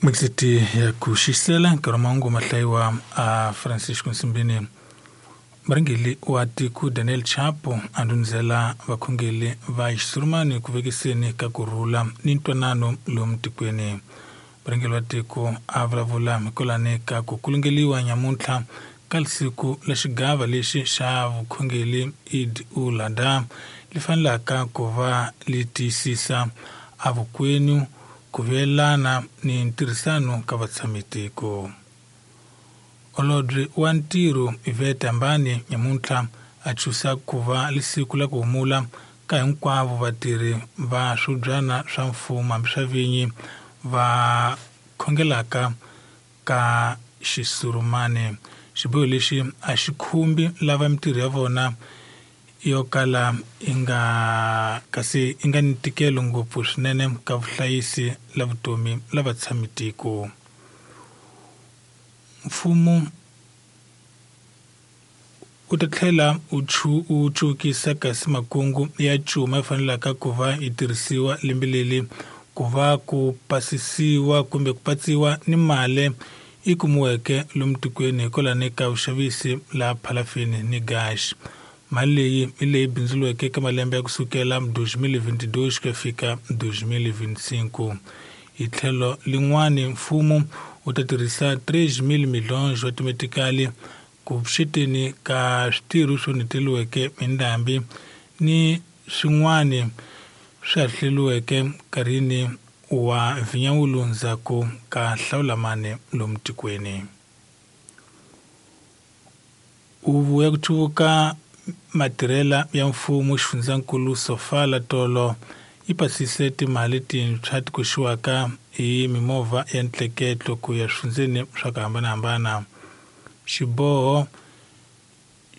Mixiti ya ku xisela nkarhi wa mahungu ma hlayiwa a Francisco Nsimbini. Murhangeri wa tiko Daniel Chapo a ndhundzela vakhongeri va xisurumani ku vekiseni ka ku rhula ni ntwanano lomu tikweni. Murhangeri wa tiko a vulavula hikwalani ka ku kulungeliwa nyamuntlha ka siku la xigava lexi xa vukhongeri Eid ul Adha li fanelaka ku va li tiyisisa a vukwenu ku vuyelana ni ntirhisano ka vatshamitiko. Holobye wa ntirho Yvette Ambani nyamuntlha a chusa ku va lisiku la ku humula ka hinkwavo vatirhi va swibyana swa mfumo hambi swa vinyi va khongelaka ka xisurumani. Xiboho lexi a xi khumbi lava mintirho ya vona yo kala yi nga kasi yi nga ni ntikelo ngopfu swinene ka vuhlayisi la vutomi la vatshamitiko. Mfumo wu ta tlhela wu cukisa kasi makungu ya cuma ya fanelaka ku va yi tirhisiwa lembe leri ku va ku pasisiwa kumbe ku patsiwa ni mali yi kumiweke lomu tikweni hikwalani ka vuxavisi la phalafini ni gas. Mali leyi hi leyi bindzuriweke eka malembe ya kusukela 2022 ku ya fika 2025. Hi tlhelo lin'wani mfumo wu ta tirhisa 3,000 milhonjo wa timetikali ku pfuxeteni ka switirho swo neteliweke hi ndhambi ni swin'wani swi hahleliweke nkarhini wa vhinyawulu ndzhaku ka hlawulamani lomu tikweni. Huvo ya ku cuvuka matirhela ya mfumo xifundzankulu Sofala Tolo yi pasise timali tintshwa ti koxiwaka hi mimovha ya ntleketlo ku ya swifundzeni swa ku hambanahambana. Xiboho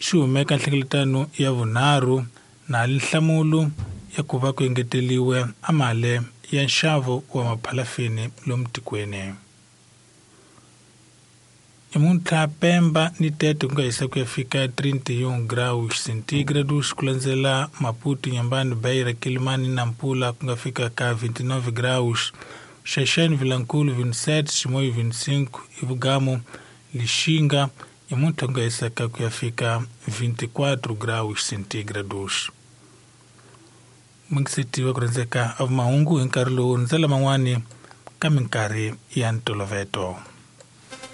xi humeka nhlengeletano ya vunharhu na nhlamulo ya ku va ku engeteliwe a mali ya nxavo wa maphalafini lomu tikweni. Namuntlha Pemba ni Tete ku nga hisa ku ya fika 31 graus centígrados ku landzela Maputo, Inhambane, Beira, Quelimane na Nampula ku nga fika ka 29 graus. Xaxani, Vilankulu 27, Chimoio 25, Ivugamu, Lixinga namuntlha ku nga hisaka ku ya fika 24 graus centígrados. Mungiseti wa ku rhandzeka a mahungu hi nkarhi lowu ndzela man'wani ka minkarhi ya ntoloveto.